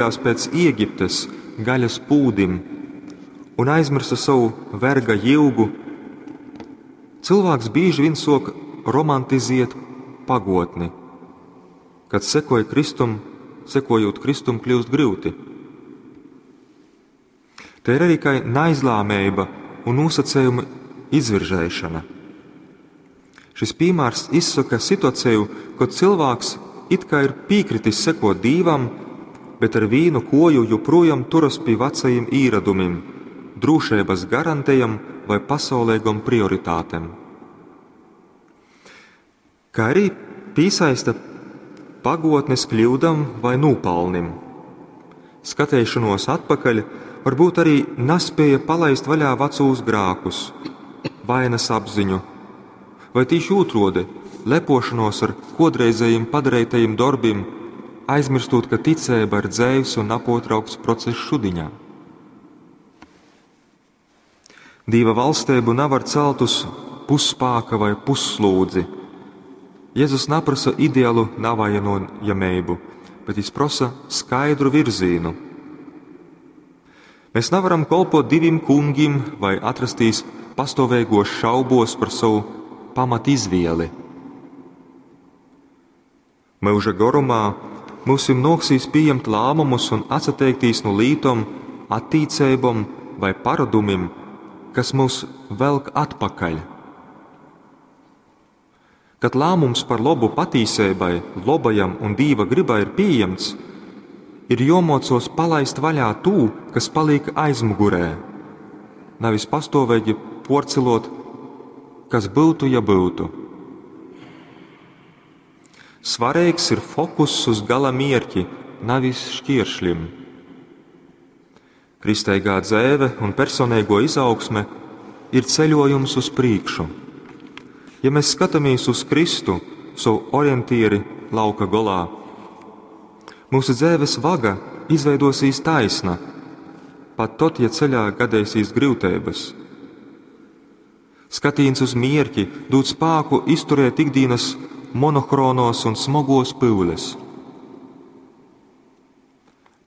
Pēc Ēģiptes gaļas pūdim un aizmirsa sovu verga jyugu, cilvēks bīži vien sok romantiziet pagotni, kad sekoja Kristum, sekojot Kristum kļūst gryuti. Te ir arī kai naizlāmeiba un nosacējumu izviržēšana. Šis piemērs izsaka situāciju, kad cilvēks it kā ir piekritis sekot Dīvam, bet ar vīnu koju joprojām turas pie vecajiem īradumiem, drošības garantējam vai pasaulīgam prioritātēm. Kā arī piesaista pagotnes kļūdam vai nopelnim. Skatēšanos atpakaļ varbūt arī nespēja palaist vaļā vecos grākus, vainas apziņu, vai tīši otrādi lepošanos ar kodreizējiem padarītajiem darbiem, aizmirstot, ka ticība ir dzēvs un napotraukts process šudiņā. Dīva valstību nevar celt uz pusspāka vai pusslūdzi. Jēzus naprasa ideālu navainojamību, bet viņš prasa skaidru virzīnu. Mēs nevaram kolpot diviem kungiem vai atrastīs pastāvīgos šaubos par savu pamatizvieli. Mūža garumā mums noksīs pieņemt lēmumus un atsateikties no lītom, attīcībām vai paradumiem, kas mūs velk atpakaļ. Kad lēmums par labu patīsībai, lobajam un dīva gribai ir pieņemts, ir jomocos palaist vaļā tū, kas paliek aizmugurē, nevis pastāvīgi porcelot, kas būtu, ja būtu. Svarīgs ir fokuss uz gala mierķi, nevis šķiršļim. Kristīgā dzēve un personīgo izaugsme ir ceļojums uz priekšu. Ja mēs skatāmies uz Kristu, savu orientieri lauka golā, mūsu dzēves vaga izveidosīs taisna, pat tad, ja ceļā gadēsīs grūtības. Skatīns uz mierķi dod spēku izturēt ikdienas monohronos un smagos pyules.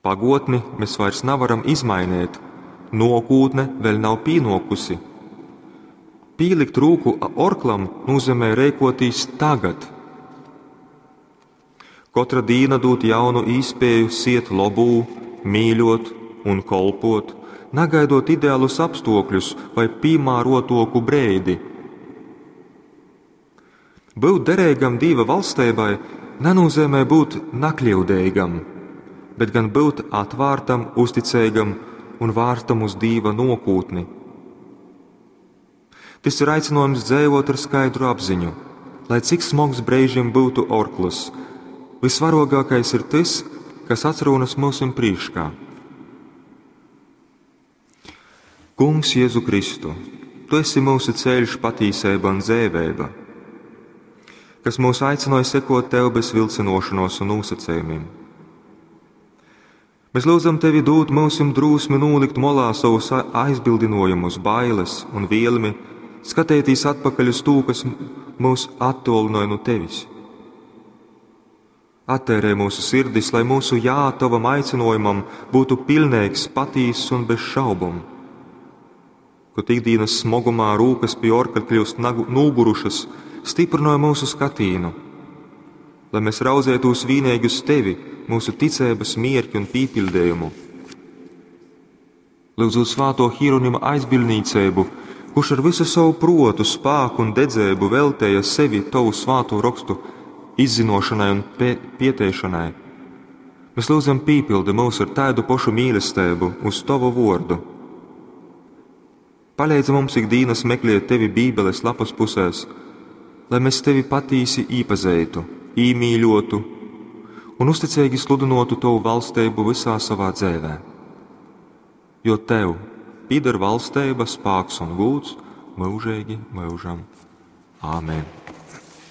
Pagotni mēs vairs nevaram izmainīt, nokūtne vēl nav pīnokusi. Pīlikt rūku orklam nozīmē rēkotīs tagad. Katra dīna dot jaunu īspēju siet lobū, mīļot un kolpot, nagaidot ideālus apstākļus vai piemērotoku breidi. Būt derīgam Dieva valstībai nenozīmē būt nakļūdīgam, bet gan būt atvērtam, uzticīgam un vārtam uz Dieva nokūtni. Tas ir aicinājums dzīvot ar skaidru apziņu, lai cik smags brīžiem būtu orkls, visvarogākais ir tas, kas atrodas mūsu priekšā. Kungs Jēzu Kristu, Tu esi mūsu ceļš, patīsība un dzēvēba, kas mūs aicināja sekot Tev bez vilcinošanos un nosacījumiem. Mēs lūdzam Tevi dot mūsim drosmi nolikt molā savus aizbildinājumus, bailes un vielmi, skatēties atpakaļ uz to, kas mūs attolināja no Tevis. Attērē mūsu sirdis, lai mūsu jā tavam aicinājumam būtu pilnīgs, patīss un bez šaubām. Kad ikdienas smogumā rūkas pie orka kļūst nogurušas, stiprināja mūsu skatīnu, lai mēs raudzētos vienīgi uz tevi, mūsu ticības mierķi un pīpildējumu. Lūdzot svāto Hieronima aizbildnīcību, kurš ar visu savu protu, spēku un dedzēbu veltēja sevi tavu svāto rakstu izzinošanai un pieteišanai. Mēs lūdzam pīpildi mūs ar tādu pašu mīlestību uz tavu vārdu. Palīdzi mums ikdienas meklēt tevi Bībeles lapas pusēs, lai mēs tevi patīsi īpazītu, īmīļotu un uzticīgi sludinotu tavu valstību visā savā dzēvē. Jo tev pieder valstība, spēks un gūts mūžīgi mūžam. Āmen!